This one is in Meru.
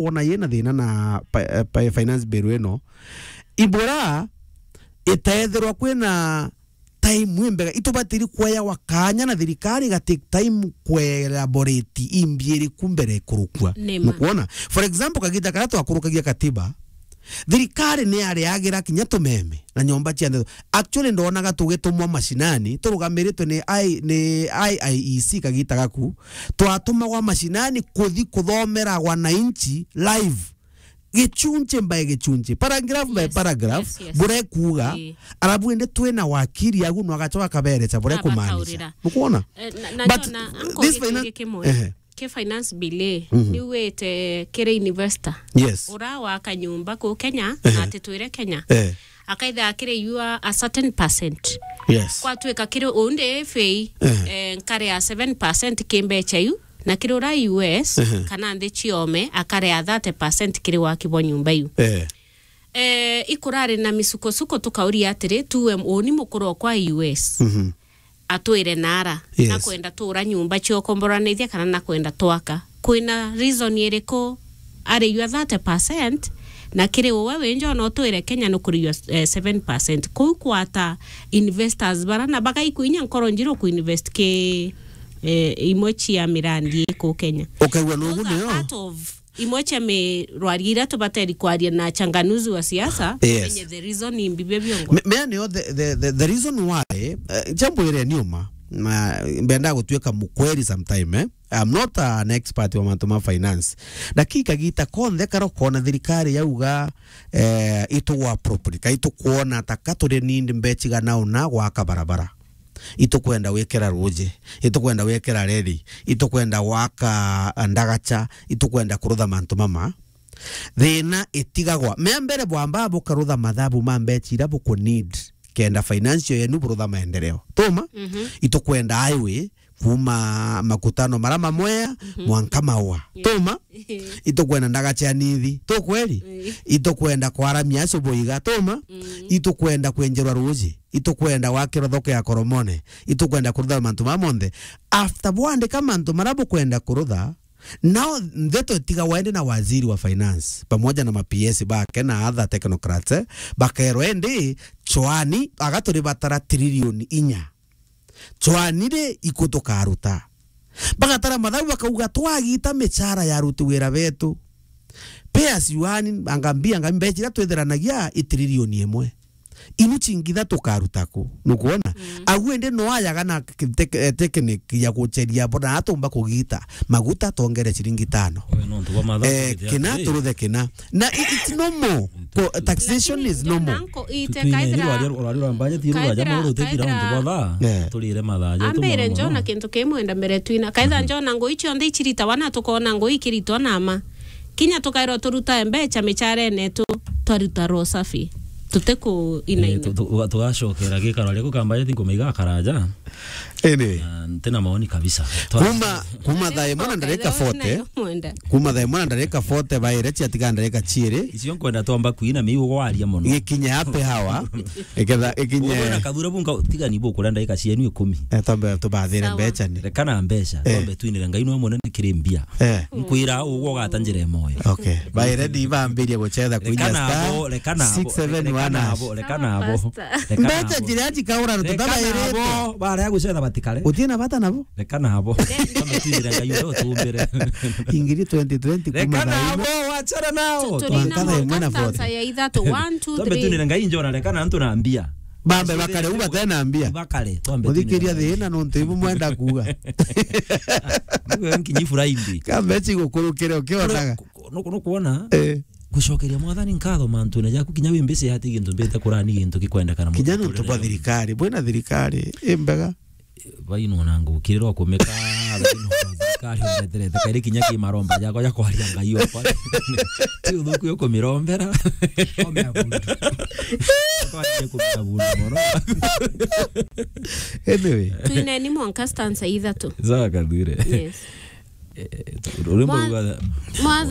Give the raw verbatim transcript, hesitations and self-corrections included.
wona yina thina na pa-, eh, pa-, finance bill ino, ibura itethirwa kwina time imbega, itubatiri kueyawa kanya na thirikari iga take time kuelaborate imbi iriku mbere ikurukua. Ni ma. Nukwona? For example, kagita karia twakurukagia katiba, thirikari ni yariagira kinya tumeme na nyomba cia ndeto. Actually, ndonaga tugitumwa mashinani, turugamiritwe ni I-, ni I I E C kagita gaku, twatumagwa mashinani kuthi kuthomera wananchi live. Gichunchi by gichunchi, paragraph by Yes, paragraph, yes, yes. Bure kuuga, Ii. Arabu indi twina wakiri agu no agachoka akaberecha bure kumaanisha. Abakaurira. Nukwona? Eh, na, na But, njona, uh, anko this giki finan-, giki kimwe. Ehe. Ki finance bill, Mhm. Niugite kiri investor. Yes. Ura waka nyumba ku Kenya, Ehe. Na ati twire Kenya. Eh. Akaitha akiriua a certain percent. Yes. Kwatuika kiri undi F A, Ehe. Eh, nkare ya seven percent ki mbecha iu. Na kiri ura U S, Ehe. Kana nthi ciome, akarea thirty percent kiri waki bwa nyumba iu. Eh. Eh, ikurari na misukosuko tukauria atiri, tuwe uni mukuru okwa U S. Mhm. Atwire nara, Yes. Nakwenda tura nyumba cia ukomboranithia kana nakwenda twaka. Kwina reason iriku ariua thirty percent, na kiri uwe winjo no twire Kenya nukuriua, eh, seven percent. Kuu kwata investors bara na bagaikwinya nkoro njiru ku invest ki, eh, imwe cia mirandi iku Kenya. Ukaigua nugu Those are nio? Part of imwe cia mirwaria iria tubateri kwaria na changanuzi wa siasa, Yes. Menye the reason imbi bia biongo. Me-, mea nio the, the, the, the reason why, eh, jambo iria niuma, na mbenda gutuika mukweri sometime, eh? I'm not an expert wa mantu ma finance. Lakini kagita konthe karo kona thirikari yauga, eh, itugwa properly, ka itukwona ta ka turi need mbechiga na una gwaka barabara. Itukwenda gwikira ruji, itukwenda gwikira reri, itukwenda gwaka ndagacha, itukwenda kurutha mantu mama. Thina itigagwa. Mea mbere bwamba bukarutha mathabu ma mbechi ira buku need kenda financial yenu burutha maendeleo. Tuma? Mhm. Itukwenda highway kuma makutano mara mamwea Mhm. mwanka maua. Yeah. Tuma? Itukwenda ndagacha ya nithi. Tu kweli? Ii. Itukwenda kwaramia acio boiga. Tuma? Mm. Itukwenda kwenjerwa ruji. Itukwenda gwakirwa thoko ya Koromone. Itukwenda kurutha mantu maya monthe. After bwandika mantu mara bukwenda kurutha, nao ndeto itigagwa indi na waziri wa finance, pamoja na ma P S bake na other technocrats, eh, bakerwa indi, chwani, aga turibatara trilioni inya. Chwani ri, iku tukaruta? Bagatara mathabu bakauga, twagita michara ya aruti wira betu, pay as you earn, anga mbia, anga mbecha iria twithiranagia i trilioni imwe. Inu chingi ithatu ukaruta ku? Nukwona? Mm. Agu indi no ayaga na tek-, eh, technique ya gucheria bona atumba kugita. Maguta tongere ciringi tano. Oyo nontu bwa mathabu Eh, githia kina atiri. Turuthe kina. Na i-, it's normal. Ko-, taxation Lakini is normal. Jonanko, ite Tukinye kaithira, ni rwaria, rwaria rwa budget, rwaria kaithira, mauru utithira kaithira untu bwa thaa. Eh. Turire mathaa jetu Ambire mono mono. Njona kintu kimwe enda mbere twina. Kaithira Mhm. Njona ngui cionthe iciritawa na tukona ngui ikiritwa na ma. Kinya tukairwa turuta mbecha micharene tu, twaruta roho safi. Tutiku ina Eh, ina. tu-, tu-, tugacokera gikaro riaku kamba jeti nkumiga karaja. Anyway. Na ntina maoni kabisa. Twa- Kuma, kuma thaa imwe na ndarika forty. Kuma thaa imwe na ndarika forty, baire ciatiga ndarika ciiri. Icio nkwenda twamba kuina miu gwaria mono. Gikinye happy hour. Iketha, ikinye Uwe na Kathura bunga tiga ni bukura ndarika cienu ikumi. Eh, twambe tubathire Sawa. Mbecha ni. Reka na mbecha. Eh. Twambe twinire Ngai nwe munene kiri mbia. Eh. Nkwira ugwo ugata njira imoyo. Okay. Baire ndi bambirie gucetha kuinya Reka nabo, star reka nabo, six seven one reka hash. Nabo, reka nabo. Pastor. Reka Mbecha nabo. Njira ya jikaura Reka tutabairite. Nabo, baria gucetha batikare. Utina bata nabo? Reka nabo. Twambe twinire Ngai uria utumbire. Ingiri twenty twenty Reka kuma thaa imwe. Nabo, wachana nao. Tu-, turi na Twakatha imwe na mwanka forty. Stanza ya ithatu. One, two, Twambe three. Twinire Ngai njona reka na antu na mbia. Bambe bakare u batena mbia. Bakare, twambe Muthikiria twinire Ngai. Thina nontu ibu mwenda kuuga. Niguo nkinyi furaindi. Kambe chigukurukire ukionaga. Nuku-, nuku-, nukuona? Eh. Gucokeria Mwathani nkatho mantune jaku, kinya wi mbisi ati gintu mbite kurani gintu gikwendekana Kinya muturire nontu bwa jwaku. Thirikari, bwina thirikari imbega. Baino na ngukirirwa kumika, baino na thirikari umeterete, kairi kinya ki maromba jakwa ja kwaria Ngai okwa. Ti uthuku yo kumirombera. Omea bundu. Kwaria kumia bundu mono. Anyway. Twineni mwanka stanza ithatu. Sawa, Kathure. Yes. Eh, urimo Mwa-, uga- Mwathani